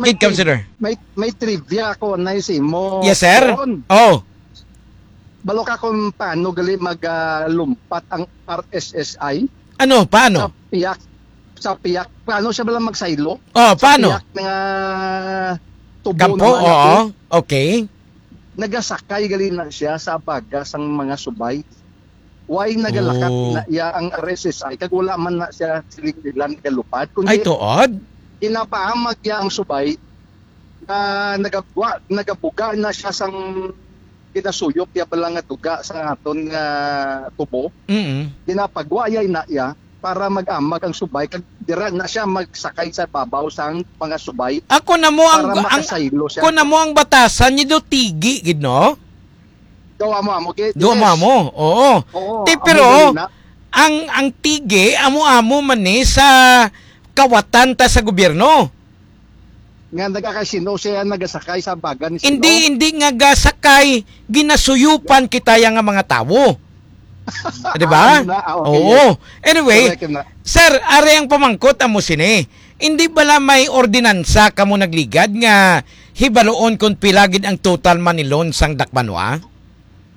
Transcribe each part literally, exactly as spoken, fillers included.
Ikaw, sir. May, may trivia ako, Nay, sa imo. Yes, sir. Ron. Oh. Balo ka kung paano gali mag, ah, lumpat ang R S S I? Ano? Paano? Sa piyak. Sa piyak. Paano siya bala magsaylo? Oh, Sa paano? piyak nga tubo Kampo? naman Oo. ako. Okay. Nagasakay gali na siya sa baga sang mga subay. Why nagalakat Oh. na iya ang R S S I? Kag wala man na siya siling nila nagalupad. Kundi Ay, tuod? ginapaamag niya ang subay na nagabwa, nagabuga na siya sang ginasuyop niya bala nga duga sa aton nga tubo. Mm. Ginapagwayay na iya para mag-amag ang subay kag dira na siya magsakay sa babaw sang mga subay Ako na mo ang, para ang makasaylo siya. Ako na mo ang batasan ni do tigi gid, no? Do amo-amo gid. Do Yes. amo-amo. Oo. Oo, Ti, amo pero gid na. ang, ang tigi, amo-amo man ni sa kawatan ta sa gobyerno. Nga nagakasino siya, nagasakay sa baga ni Hindi, Sino? hindi nga gasakay, ginasuyupan kita ya nga mga tawo. Di ba? Ah, ano na? Ah, okay, Oo. yes. Anyway, Correct na. sir, are ang pamangkot amo sini. Hindi bala may ordinansa kamo nagligad nga hibaluon kung pila gid ang total money loan sang Dakbanwa?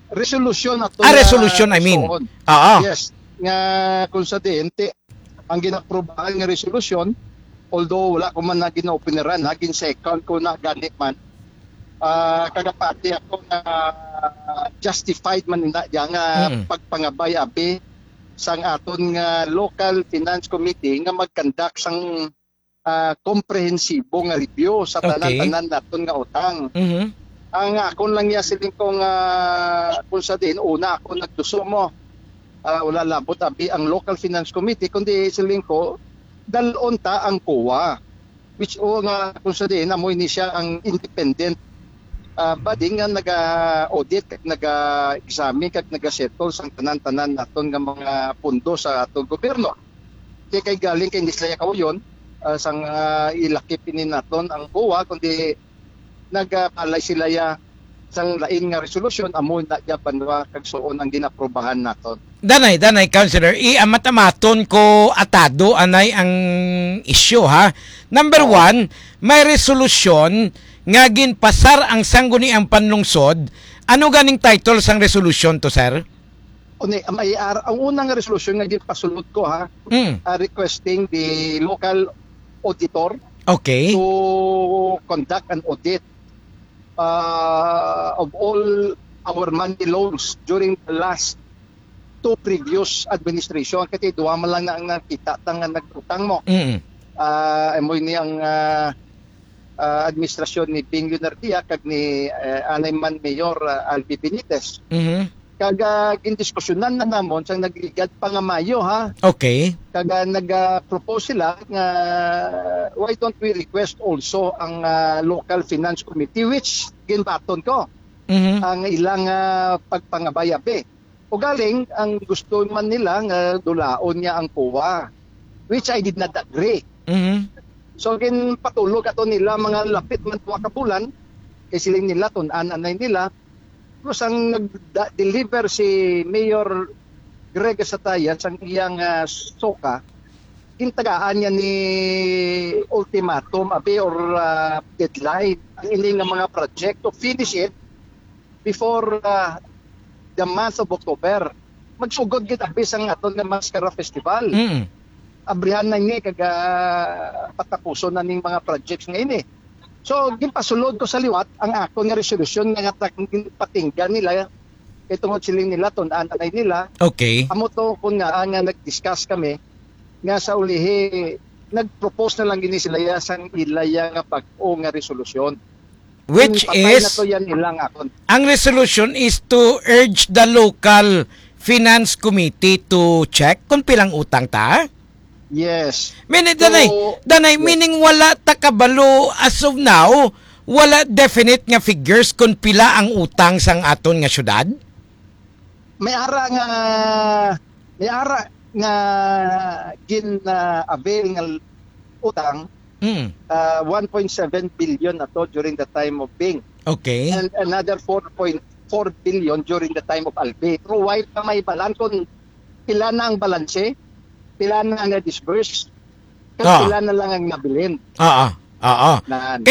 Resolution ato Ah, nga resolution, I mean. suon. Oo. Yes. Nga kung sa D N T, ang ginaprubahan nga resolution, although wala ko man na ginaopiniran, ha, gin-second ko na gani man, ah, kagapati ako nga justified man na diya nga Mm. pagpangabay abi sang aton nga local finance committee nga mag-conduct sang, ah, komprehensibo nga review sa Okay. tanan-tanan naton nga utang. Mhm. Ang akon lang ya siling ko nga, kung sa diin, una ako nagduso mo, ah, wala labot abi ang local finance committee, kundi siling ko, dalon ta ang COA. Which, o nga, kung sa diin, amo ini siya ang independent, ah, body nga naga-audit, kag naga-examine, kag naga-settle sang tanan-tanan naton nga mga pundo sa aton gobyerno. Di kay galing kay hindi sila kauyon, ah, sang, ah, ilakip ini naton ang COA, kundi nagapalay sila ya sang lain nga resolusyon, amo na ya banwa kag suon ang ginaprobahan naton. Danay, danay, Councilor, i-amat-amaton ko atado anay ang isyu, ha. Number Oo. one, may resolusyon nga ginpasar ang Sangguniang Panlungsod. Ano ganing title sang resolusyon to, sir? Uni, may ar-, ang unang resolusyon nga ginpasulod ko, ha, Mm. ah, requesting the local auditor Okay. to conduct an audit, ah, of all our money loans during the last two previous administration. Kasi duha man lang na ang nakita ta nga nagutang mo. Mm. Ah, amo ini ang, ah, ah, administrasyon ni Bing Leonardia kag ni, eh, anay man Mayor, ah, Albi Benitez. Mhm. Kag, ah, gindiskusyonan na namon sang nagligad pa nga Mayo, ha. Okay. Kag, ah, nag, ah, propose sila nga, why don't we request also ang, ah, local finance committee, which ginbaton ko Mhm. ang ilang, ah, pagpangabay-abi. Ugaling, ang gusto man nila nga dulaon niya ang COA, which I did not agree. Mhm. So, ginpatulog ato nila mga lapit man duha ka bulan, kay siling nila, tun-an anay nila. Tapos ang nag-deliver si Mayor Greg Sataya sang iyang, ah, SOCA, gintagaan niya ni ultimatum, abi, or, ah, deadline, ang ini nga mga project to finish it before, ah, the month of October. Magsugod gid abi sang aton nga Mascara Festival. Mm. Abrihan na ini kag, ah, patapuson na ning mga projects nga ini. So, ginpasulod ko sa liwat ang akon nga resolusyon nga tak-, patinggan nila kay tungod siling nila tun-an anay nila. Okay. Amo to kun nga, ah, nga nag-discuss kami nga sa ulihi nag-propose na lang gini sila ya sang ilaya nga bag-o nga resolusyon. Which Patay na is, to yan ilang akon. ang resolution is to urge the local finance committee to check kung pilang utang ta. Yes. Meaning, danay, So, danay, yes. meaning wala ta kabalo as of now, wala definite nga figures kung pila ang utang sang aton nga syudad? May ara nga, may ara nga gin, ah, avail nga utang, Mm. ah, one point seven billion na to during the time of Bing. Okay. And another four point four billion during the time of Albi. Pero why pa may balan kung pila na ang balanse, pila na ang na-disburse, kag Ah. pila na lang ang nabilin? Ah, ah, ah, ah. Nan. Kay